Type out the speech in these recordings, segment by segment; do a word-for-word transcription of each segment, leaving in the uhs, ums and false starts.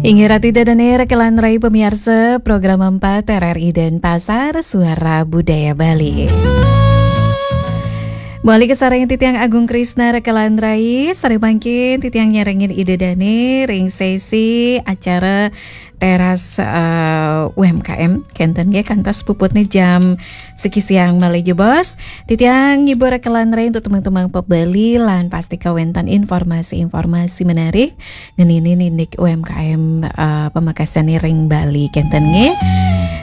Inggih ratu ida dané rekelan rai pemiarsa program empat R R I Denpasar, Suara Budaya Bali. Mawali kasarengin titiang Agung Krisna rekelan rai, sareng mangkin titiang nyarengin ida dané ring sesi acara teras eh, U M K M, kénten nggih, kantos puputné jam siki siang malih jebos. Titiang ngibur rekelan rai untuk tembang-tembang pop Bali lan pastika wénten informasi-informasi menarik ngeninin indik U M K M eh, pamekasané ring Bali, kénten nggih.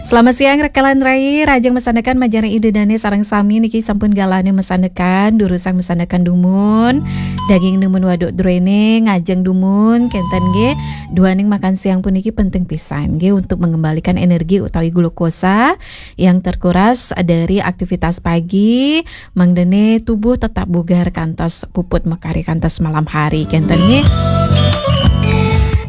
Selamat siang rekelan rai, rahajeng masandekan majeng ida dané sareng sami niki sampun galahé masandekan, durusang masandekan dumun, daging dumun waduk druéné ngajeng dumun, kénten nggih. Duaning makan siang puniki penting pisan nggih untuk mengembalikan energi utawi glukosa yang terkuras dari aktivitas pagi, mangdané tubuh tetap bugar kantos puput makarya kantos malam hari, kénten nggih.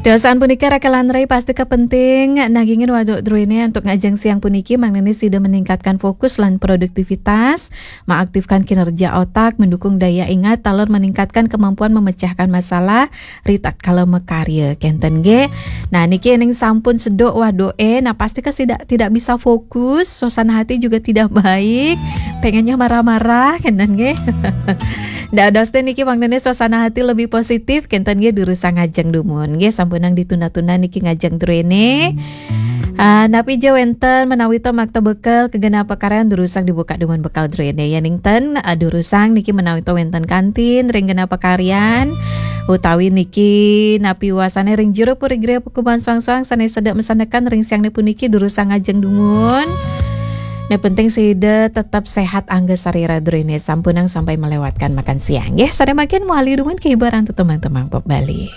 Tiosan punika rekelan rai pastika penting nagingin waduk druéné antuk ngajeng siang puniki, mangdané sida meningkatkan fokus lan produktivitas, mengaktifkan kinerja otak, mendukung daya ingat, taler meningkatkan kemampuan memecahkan masalah ritatkala makarya, kénten nggih. Nah, niki ning sampun seduk waduké, nah pastika tidak tidak bisa fokus, suasana hati juga tidak baik, pengennya marah-marah, kénten nggih. Dados té niki mangdané suasana hati lebih positif, kénten nggih, durusang ngajeng dumun nggih, sampunang ditunda-tunda niki ngajeng druéné. Ah, napi ja wénten menawi ta makta bekal kagenah pakaryan, durusang dibuka dumun bekal druéné. Yéning ten, ah, durusang niki menawi ta wénten kantin ring genah pakaryan, utawi niki napi wasané ring jero puri griya pakubuhan soang-soang sané sedek masandekan ring siangné puniki, durusang ngajeng dumun. Nah, penting sida tetap sehat angga sarira druéné, sampunang sampai melewatkan makan siang nggih. Sareng mangkin mawali dumun kahiburan tembang-tembang pop Bali.